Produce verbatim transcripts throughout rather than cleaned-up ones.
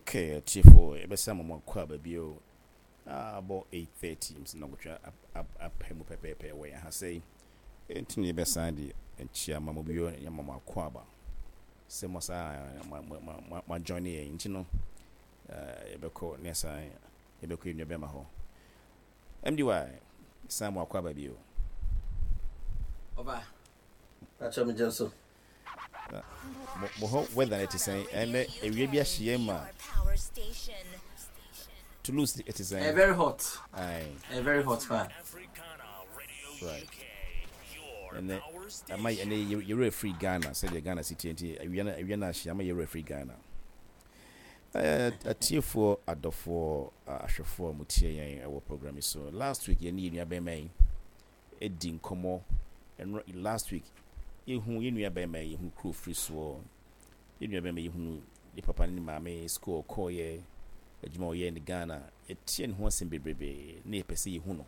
Okay, atiefoɔ, yɛbɛsa mo mo akɔ aba bio. Abɔ eight thirty nti na kotwa apɛ mu pɛpɛɛpɛ wɔ yɛn ha sɛi. Nti ne yɛbɛsan de nkyia ma mo bio, yɛma mo akɔ aba sɛ mo saa mo join yɛn. Nti no yɛbɛkɔ ne san yɛbɛkɔ yɛn nua bɛma hɔ. M D Y, san mo akɔ aba bio. Ɔba patro, megye so. Mo hɔ weather no te sɛn ɛnɛ? Awia bi ahye yɛn ma Toulouse, ɛte sɛn? uh, very hot. Aye. uh, very hot paa. Right, ɛnɛ ama ɛnɛ yɛwerɛ firi Ghana sɛdeɛ Ghana si tie, nti awia no awia no ahye ama yɛwerɛ firi Ghana. Atiefoɔ, adɔfoɔ, ahwɛfoɔ a motie yɛn ɛwɔ program yi so, last week yɛne yɛn nua bɛrima yi ɛdi nkɔmmɔ. Ɛno last week yɛhu yɛn nua bɛrima yi, yɛhu kuro firi soɔ, yɛn nua bɛrima yi, yɛhu ne papa ne ne maame, school ɔkɔɔyɛ, adwuma ɔyɛ ne Ghana. Yɛtie ne ho asɛm bebrebe ne yɛpɛ sɛ yɛhu no.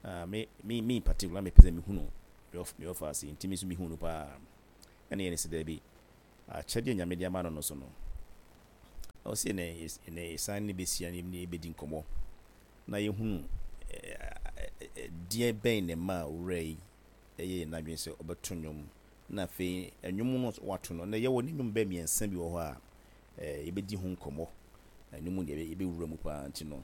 uh, me me me in particular, mepɛ sɛ mehu no me ɔfa ase, nti me nso mehu no paa. Ɛne yɛne sɛ daabi, akyɛdeɛ Nyame de ama no no so no, ɔsɛ ɛnɛ ɛnɛ ɛsan ne bɛsia ne ne bɛdi nkɔmmɔ na yɛhunu deɛ bɛn ne ma owura yi ɛyɛ yɛn n'adwene sɛ ɔbɛto nnwom, na afei nnwom no wato no na yɛwɔ ne nnwom bɛɛ mmiɛnsa bi wɔ hɔ a yɛbɛdi ho nkɔmmɔ. Nnwom deɛ yɛbɛwura mu paa, nti no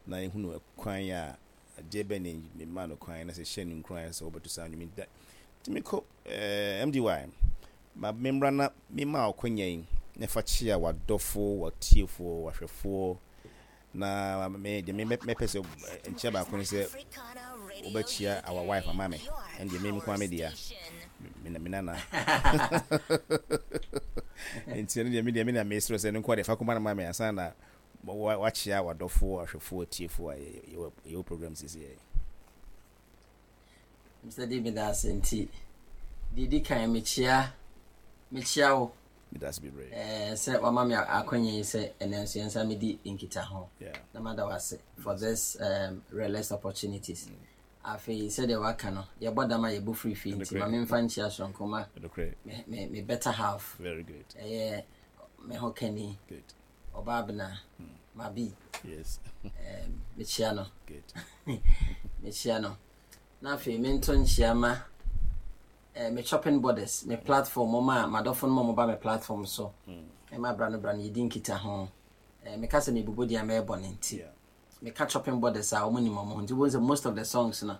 na yɛhunu kwan a adeɛ bɛn ne ne ma no kwan na sɛ hyɛ no nkuran sɛ wɔbɛto saa nnwom da. Nti mekɔ ɛɛ M D Y, ma membra na mema ɔkɔnya yi na fa kyea w'adɔfoɔ, w'atiefoɔ, w'ahwɛfoɔ. Na me deɛ, me mɛpɛ sɛ nkyia baako ne sɛ wobɛkyia our wife ama me. Ɛn deɛ me nko me dea, me me nana, nti ɛno deɛ me deɛ me na mesrɛ sɛ no nko deɛ fa kɔma no ma me ansa na wakyia w'adɔfoɔ, ahwɛfoɔ, atiefoɔ a yɛwɔ program sisi yɛ. Mister David, ase nti deɛ di kan, mekyia mekyia wo. Medase bebree. ɛɛ sɛ wama me akɔnya yi sɛ ɛnɛ nso yɛn nsa medi nkita ho na mada wo ase for this um, realist opportunities mm. Afei sɛdeɛ waka no, yɛbɔ dam a yɛbɔ firi fie, nti ma memfa nkyia soronko ma me, me, me better half. Very good. Ɛyɛ me ho kani, ɔbaa bena mm. Mabi. Yes um, mekyia no. Good. Mekyia no na afei mento nkyia ma eh, me chopping borders, me platform, mo a madɔfo no ma moba me platform so ɛma bra no bra no yɛdi nkita ho. eh, meka sɛ mebubu deɛ mɛɛbɔ no, nti meka Chopping Borders a, ɔmo nim ɔmo ho, nti wobɛhu sɛ most of the songs no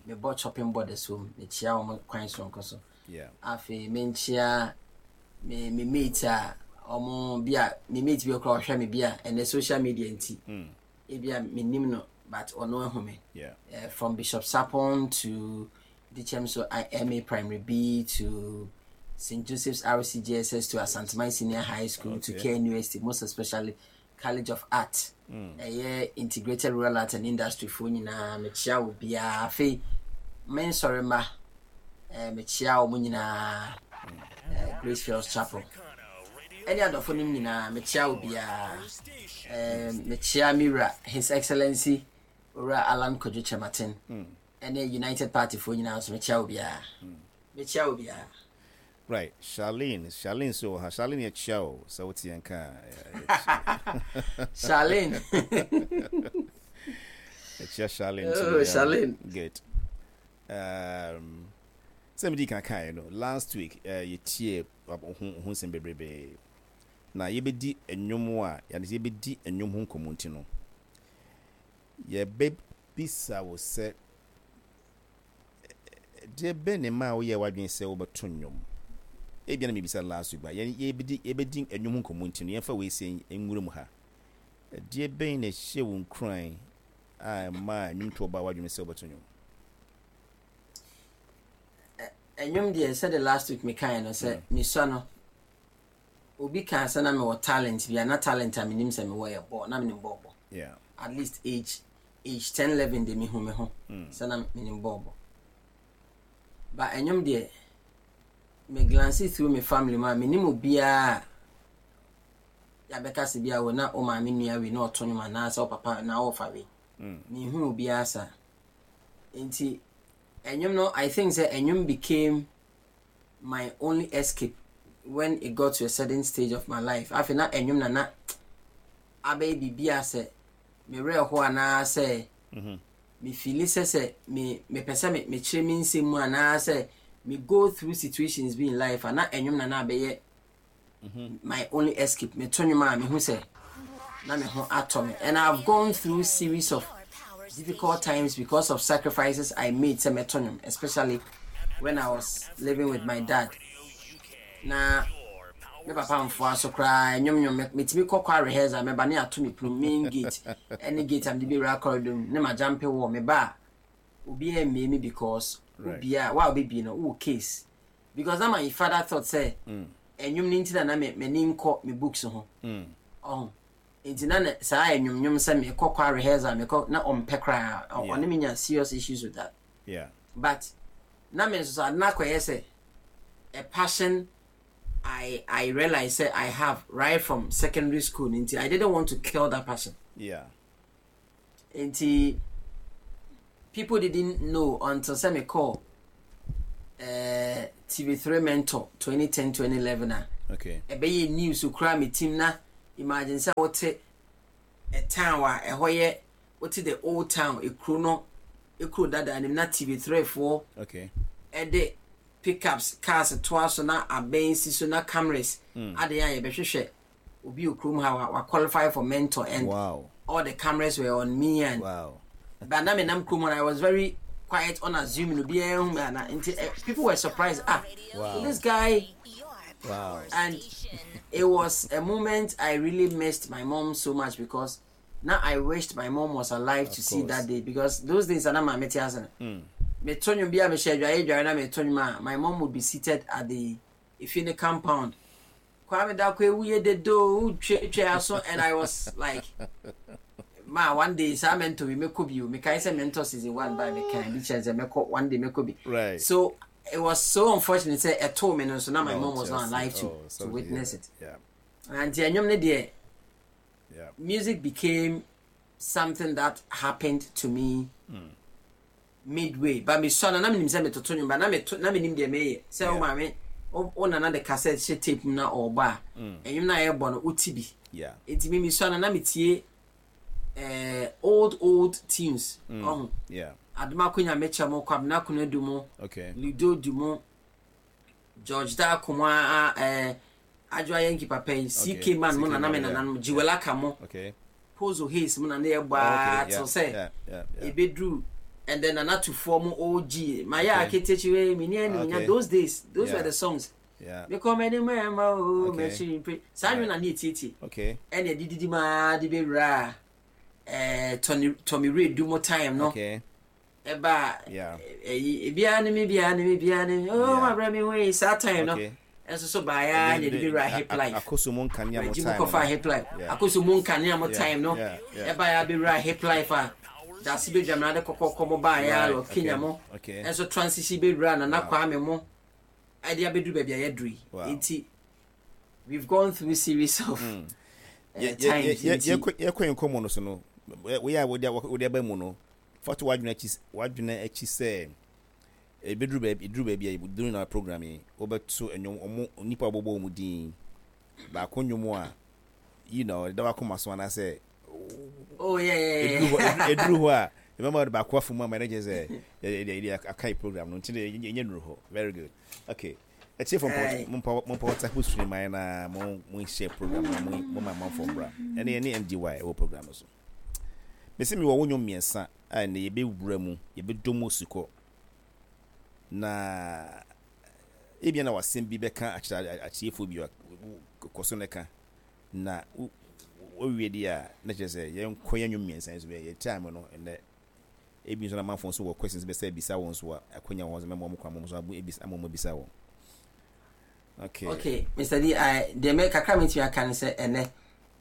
mebɔ Chopping Borders wɔ mu. Mekyia ɔmo kwan soronko so. Afei menkyia me me mate a ɔmo bi a me mate bi koraa ɔhwɛ me bi a ɛnɛ social media nti mm. ebi a menim no but ɔno ahu me. yeah. uh, from Bishop Sapon to Dichem, so I M A Primary B to Saint Joseph's R C J S S to Asanteman Senior High School okay. to K University, most especially College of Art, ɛyɛ mm. Integrated Rural Art and Industry foɔ nyinaa, mekyia wo biara. Afei me nsɔre mma, eh, mekyia wɔn nyinaa, eh, Grace Fields Chapel ɛne adɔfo no nyinaa, mekyia wo biara. eh, mekyia me wura, His Excellency Owura Alan Kwadwo Kyerematen, ɛne United Party foɔ nyinaa nso, mekyia wo biara, mekyia wo biara. Right, Charlene, Charlene so wɔ ha. Charlene, yɛkyia o sɛ wote yɛn ka. Charlene. Yɛkyia Charlene. Oh, Charlene. Good. um, sɛ medi kan kaeɛ no, last week uh, yɛtie ho ho nsɛm bebrebee na yɛbɛdi nnwom a yɛne sɛ yɛbɛdi nnwom ho nkɔmmɔ, nti no yɛbɛbisa wo sɛ deɛ bɛn ne ma a woyɛ w'adwene sɛ wobɛto nnwom. Ebia na mebisa last week ba yɛbɛdi yɛbɛdi nnwom ho nkɔmmɔ, nti no yɛmfa wei sɛ nwura mu ha. Deɛ bɛn na ɛhyɛ wo nkuran a ɛma nnwomtoɔ ba w'adwene sɛ wobɛto nnwom? Ɛnwom deɛ, sɛde last week mekaeɛ no sɛ mesua no, obi kaa sɛ na mewɔ talent bi a na talent a menim sɛ mewɔ yɛ bɔɔl, na menim bɔɔl bɔ. Yeah. At least age age ten eleven de, mehu me ho sɛ na menim bɔɔl bɔ. Ba ɛnwom deɛ, me glance through me family mu a, menim obiara a yɛabɛka sɛ bi a wɔ na wo maame nua wei na ɔto nwom anaasɛ wo papa na wɔfa wei. Mehu obiara saa, nti ɛnwom no, I think sɛ ɛnwom became my only escape when it got to a certain stage of my life. Afei na ɛnwom na na Abɛyɛ biribi a sɛ mewerɛ hɔ anaasɛ Mhm. mefeel sɛ sɛ me mepɛ sɛ me mekyerɛ me nsɛm mu anaasɛ me go through situations bi in life a, na ɛnwom na na abɛyɛ my only escape. Meto nnwom a, mehu sɛ na me ho atɔ me, and I've gone through series of difficult times because of sacrifices I made sɛ mɛto nnwom, especially when I was living with my dad. Na me papa mfoa so koraa nnwom nnwom, metumi kɔ kɔ rehearsal, mɛba ne ato me pono, main gate ɛne gate a mede bɛwura corridor mu ne ma jump wɔ me ba a, obiara mmie me because Right. obiara wa obɛbie no wowɔ case, because na my father thought sɛ Mm. ɛnwom no nti na na me m'ani nkɔ me books ho. Mm. Ɔho nti na ne saa ɛnwomnwom sɛ mekɔ kɔ rehearsal, mekɔ na ɔmpɛ koraa. Ɔ- Yeah. Ɔne me nya serious issues with that, Yeah. but na me nso so ade no akɔyɛ sɛ a passion I I realize sɛ I have right from secondary school, nti I didn't want to kill that passion. Yeah. Nti people didn't know until sɛ me call uh, T V three Mentor twenty ten twenty eleven a Okay. ɛbɛyɛ news kura me team. Na imagine sɛ wote a town a ɛhɔ yɛ, wote the old town, ekuro no ekuro dada anim, na T V three foɔ Okay. ɛde pickups cars toa so na abɛn si so na cameras Mm. ade a yɛbɛhwehwɛ obi wɔ kurom ha wa wa qualify for Mentor, and Wow. all the cameras were on me and Wow. but na me nam kurom hɔ no, I was very quiet, unassuming, obiara hu me ana, nti eh, people were surprised, ah, Wow. so this guy. Wow. And it was a moment I really missed my mom so much, because now I wished my mom was alive to see course. that day, because those days ana maame te ase no, Mm. meto nnwom bi a mehyɛ adwareɛ dware na meto nnwom a, my mom would be seated at the efie ne compound, "Kwame Dako ewu yɛ dedo wotwe aso," and I was like, "Ma, one day saa Mentor bi mɛkɔ bi o." Mekae sɛ Mentor season one ba, mekae bi kyerɛ sɛ mɛkɔ, one day mɛkɔ bi. Right. So it was so unfortunate sɛ ɛtoo me no so na my No, mom was not just- alive to oh, to sorry, witness yeah. it. Yeah. Nti ɛnwom ne deɛ, Yeah. music became something that happened to me midway, but me sɔ no na menim sɛ metoto nwom, but na meto na menim deɛ meyɛ sɛ wo Yeah. maame wo wo nana de cassette hyɛ tape mu na ɔɔbɔ a, ɛnwom no a yɛbɔ no wote bi. Yeah. Nti me mesɔ no na metie eh, old old tunes ɔho. Yeah. Adomako Nyamekyɛ mo, Kwabena Konadu mo, Okay. Ludo Du mo, George Darko mo, a eh, Adwoa Yankee papa yi, C K Man mo, C K nana me Man, yeah. nananom Jiwelaka mo, Okay. Pozo Hayes mo na ne yɛbɔ Oh, a okay. Yeah. till sɛ Yeah. Yeah. Yeah. ebeduru, and then Nana Tufoɔ mo, O G mayɛ Okay. aketekyi mi ni ɛnu nya. Okay. Those days, those Yeah. were the songs. Yeah. Mekɔ mɛni mɛma o Okay. mɛkyiri mpe saa nwom na ne etietie. Okay. Ɛna ɛdididi maa de bɛwura ɛɛ Tony Tommy Ray du mo time no. Okay. Ɛba Yeah. ɛyi ebiara ne mi, biara ne mi, biara ne mi oh Yeah. ma brɛ mi ho yi saa time no. Okay. Ɛnso so baaya na ɛde bɛwura hip life. Akoso mu nkanea mo Reggie mu time kɔfa no. Hip Life. Yeah. Akoso mu nkanea mo Yeah, time no. yeah, yeah. Ɛba ya bɛwura hip life a dase bɛdwam de kɔkɔkɔ mo baaya Right, lɔ Kenya okay, mo okay. ɛnso transition bɛwura Nana Kwame mo ɛde abɛduru baabi a yɛduru yi. Wow. Nti we've gone through series of uh, Yɛ- yɛ- times yɛ- nti yɛkɔ yɛkɔ yɛn nkɔmmɔ no so no, woyɛ a wode wode aba mu no, fa to w'adwene akyi w'adwene akyi sɛ ebeduru baabi, eduru baabi a during our program yi, wobɛto nnwom ɔmo nipa a wɔbɔbɔ wɔn din baako nnwom a you know ɛda wakoma so anaasɛ oh yeah yeah eduru hɔ yeah eduru hɔ a ɛbɛma wɔde baako afɔ mu ama ɛna kyerɛ sɛ yɛ yɛ yɛ aka yi program no, nti de yɛ nuru hɔ. Very good. Okay, ɛtie fɔ Aye. mo mpa WhatsApp stream ayɛ na mo mo share program na mo mo ma amanfoɔ mbra. Ɛne ɛne M D Y ɛwɔ program no so. Mesi mi wɔ wo nnwom mmiɛnsa a ɛnɛ yɛbɛwura mu, yɛbɛdɔ mu osukɔ, na ebia na wasɛm bi bɛka akyerɛ akyerɛfoɔ bi a kɔ so ne ka na wo- wowie di a, na kyerɛ sɛ yɛnkɔ yɛn nnwom mmiɛnsa yi so bɛyɛ yɛ time no. Ɛnɛ ebi nso na amanfoɔ nso wɔ questions bɛsɛ ebisa wɔn nso a, akɔnya wɔn nso mɛma wɔn kwan mo nso abu ebisa ama wɔn ebisa wɔn. Okay. Okay, Mister D, I the me kakra me aka ne sɛ ɛnɛ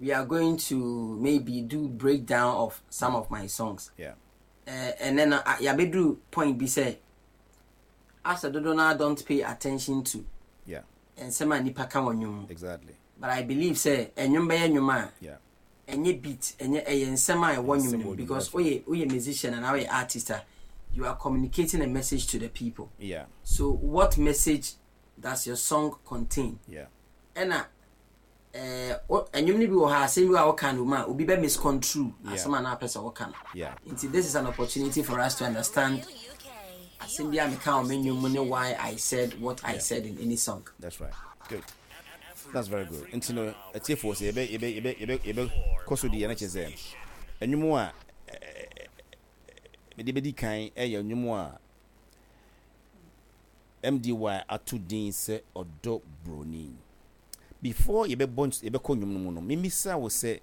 we are going to maybe do breakdown of some of my songs. Yeah uh, and then uh, yɛabɛduru point bi sɛ asɛ dodo no don't pay attention to yeah nsɛm a nipa ka wɔ nnwom mu. Exactly but I believe sɛ ɛnwom bɛyɛ nnwom a, yeah ɛnyɛ beat, ɛnyɛ, ɛyɛ nsɛm a ɛwɔ Nsɛm nnwom no wɔ mu, nnwom, because that's right. woyɛ woyɛ musician and woyɛ artist a, you are communicating a message to the people. Yeah so what message does your song contain? Yeah ɛna ɛɛ wo- ɛnwom Ɛnwom no bi wɔ ha, asɛm bi a wɔka no mu a obi bɛ misconstrue Yeah. asɛm a na apɛ sɛ wɔka no. Yeah. Nti this is an opportunity for us to understand asɛm bi a meka wɔ me nnwom mu ne why I said what I said in any song. That's right. Good. That's very good. Nti no, atiefoɔ, sɛ yɛbɛ yɛbɛ yɛbɛ yɛbɛ yɛbɛ kɔ so di yɛn akyɛ sɛ ɛnwom a mede bɛdi kan ɛyɛ nnwom a M D Y ato din sɛ Ɔdɔ Broni. Before yɛbɛbɔ ns- yɛbɛkɔ nnwom no mu no, memisa wo sɛ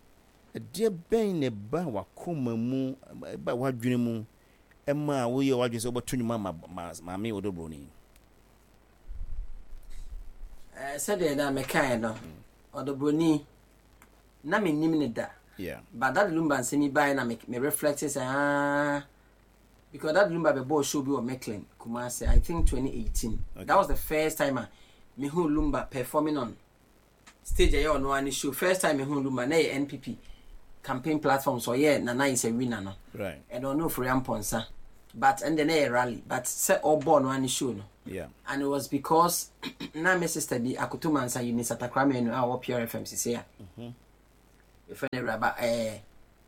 ɛdeɛ bɛn na ɛba wakoma mu, ɛba w'adwene mu, ɛma a woyɛ w'adwene sɛ wobɛto nnwom ama ma maame Ɔdɔ Broni? Eh, sɛdeɛ na mekaeɛ no, Ɔdɔ Broni na mennim ne da, yeah but Daddy Lumba nsɛm yi baeɛ na me, me reflect sɛ, ah, because Daddy Lumba bɛbɔɔ show bi wɔ Mecklin, Kumasi, I think twenty eighteen. Okay. That was the first time a mehu Lumba performing on stage. Ɛyɛ ɔno ara ne show. First time mehu Lumba na yɛ N P P campaign platform, so ɔyɛ Nana is a Winner no, right ɛna ɔno Ofori Ampɔnsa, but ɛnde na yɛ rally, but sɛ ɔbɔɔ no ara ne show no, yeah and it was because na me sister bi Akoto Mansa, Eunice Atakora a ɔwɔ Pure F M sisi a yɛfrɛ no Awuraba, ɛɛ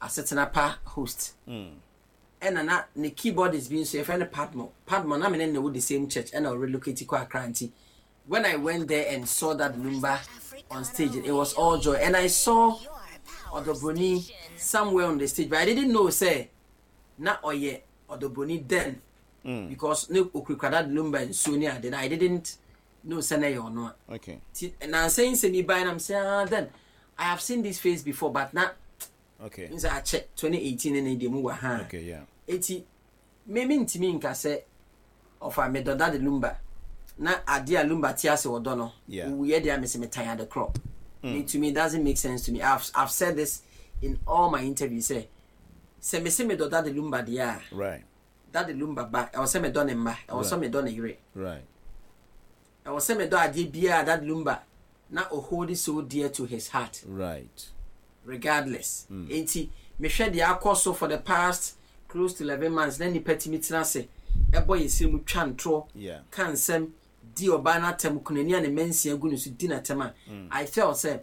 Asetena Pa host, mm. ɛna na ne keyboardist bi nso yɛfrɛ no Padmo. Padmo na me ne no wɔ the same church, ɛna ɔrelocate kɔ Accra. Nti when I went there and saw that Lumba on stage, it was all joy, and I saw Ɔdɔbroni somewhere on the stage, but I didn't know say na ɔyɛ Ɔdɔbroni then, Mm. because ne okurakura that Lumba nsuo ne ade na I didn't know sɛ na ɛyɛ ɔno a. Okay nti nansa yi nsɛm yi bae na sɛ, ah, then I have seen this face before, but na okay n sɛ akyɛ, twenty eighteen ne ne deɛ mu wɔ ha. Okay yeah Eti me me ntumi nka sɛ ɔfa medɔ Daddy Lumba na adeɛ a Lumba te ase wɔdɔ no Yeah. owuyɛ deɛ a mese metan ade korɔ. Me, to me, it doesn't make sense to me. I've, I've said this in all my interviews sɛ sɛ mese medɔ Daddy Lumba deɛ a, right Daddy Lumba ba, ɛwɔ sɛ medɔ ne mma, ɛwɔ sɛ medɔ ne yere, right ɛwɔ sɛ medɔ adeɛ biara Daddy Lumba na ɔhold it so dear to his heart, right regardless. Nti mehwɛ deɛ akɔ so for the past close to eleven months na nipa tumi tena ase ɛbɔ yɛ siri mu, twa ntorɔ, yeah ka nsɛm di ɔbaa n'atɛm, kunani a ne mma nsia gu ne so di n'atɛm a, I felt sɛ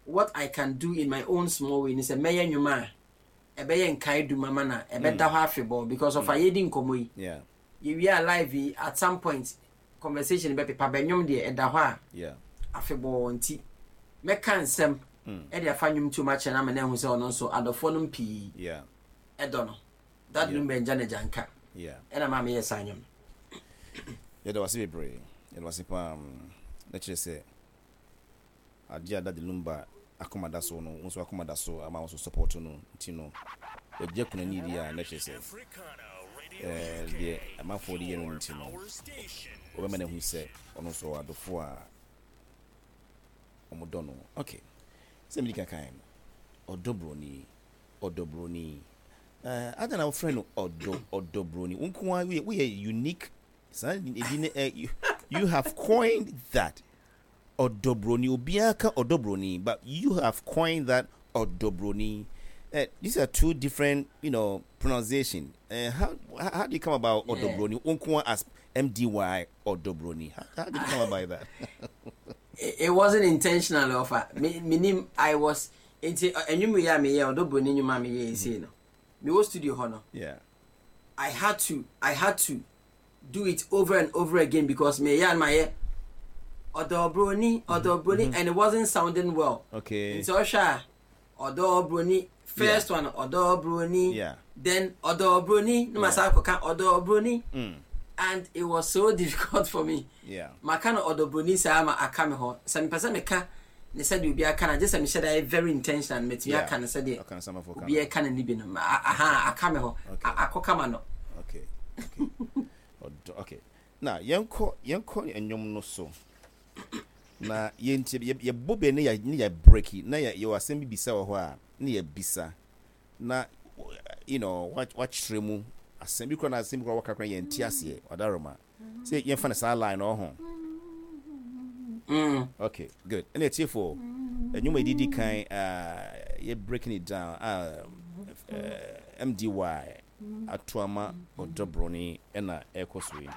what I can do in my own small way ni sɛ mɛyɛ nnwuma a ɛbɛyɛ nkae dum ama na ɛbɛda hɔ afebɔɔ, because of a yɛdi nkɔmmɔ yi, yeah yɛwie a live yi, at some point conversation bɛpepa bɛnwom deɛ ɛda hɔ a yeah afebɔɔ. Nti mɛka nsɛm ɛde afa nnwom tuom akyerɛ no ama no ahu sɛ ɔno nso adɔfoɔ no pii yeah ɛdɔ no. Daddy Yeah. Lumba ngya ne gyanka, yeah ɛna maa meyɛ saa nnwom no. Yɛda wase bebree, yɛda wase paa. mm, na kyerɛ sɛ adeɛ a Daddy Lumba akoma da so no, wo nso akoma da so ama wo nso support no. Nti no wɔgye kunani di a, na kyerɛ sɛ ɛɛ deɛ amanfoɔ de yɛ no nti no, wɔbɛma no ahu sɛ ɔno nso ɔwɔ adɔfoɔ a ɔmodɔ no. Okay, sɛ medi kankan no, Ɔdɔ Broni, Ɔdɔ Broni, ɛɛ ada na wɔfrɛ no ɔdɔ Ɔdɔ Broni. Wo nko ara woyɛ woyɛ unique saa edi ne ɛ you, you have coined that Ɔdɔ Broni. Obiara ka Ɔdɔ Broni, but you have coined that Ɔdɔ Broni. Uh, these are two different you know pronunciation. uh, how, how how do you come about Yeah. Ɔdɔ Broni, wo nko ara as M D Y Ɔdɔ Broni? how, how did you come about that? it, it wasn't intentional, ɔfa me menim I was nti ɛnwom yi a meyɛ, Ɔdɔ Broni nnwom a meyɛ ɛsei no, mewɔ studio hɔ no, yeah I had to I had to do it over and over again because meyɛ a na mayɛ Ɔdɔ Broni, Ɔdɔ Broni, and it wasn't sounding well. Okay nti ɔhwɛ a, Ɔdɔ Broni first one, Ɔdɔ Broni, yeah then Ɔdɔ Broni na ma sa akɔka Ɔdɔ Broni, mm. and it was so difficult for me. Yeah maka no Ɔdɔ Broni saa ma aka me hɔ sɛ mepɛ sɛ meka ne sɛdeɛ obi aka no, gye sɛ mehyɛ da yɛ very intentional, metumi Yeah. aka no sɛdeɛ ɔka no samafoɔ ka obi no. ɛka no ne bi no. Ma- aha aka me hɔ. Okay. A- akɔ kama no. okay okay ɔdɔ, okay, na yɛnkɔ yɛnkɔ nnwom no so na yɛntie. yɛ- yɛbɔ bɛ ne yɛ ne yɛ break na yɛ yɛwɔ asɛm bi bisa wɔ hɔ a ne yɛ bisa na you know wa wakyerɛ mu asɛm bi kora na asɛm bi kora wɔka kora yɛnte aseɛ. Ɔdaroma sɛ yɛmfa no saa line no ɔho. Mm. Okay, good. Ɛna atiefoɔ, nnwom a yɛdidi kan uh, yɛ breaking it down uh, uh, M D Y ato ama Ɔdɔ Broni ɛna ɛkɔ so yi.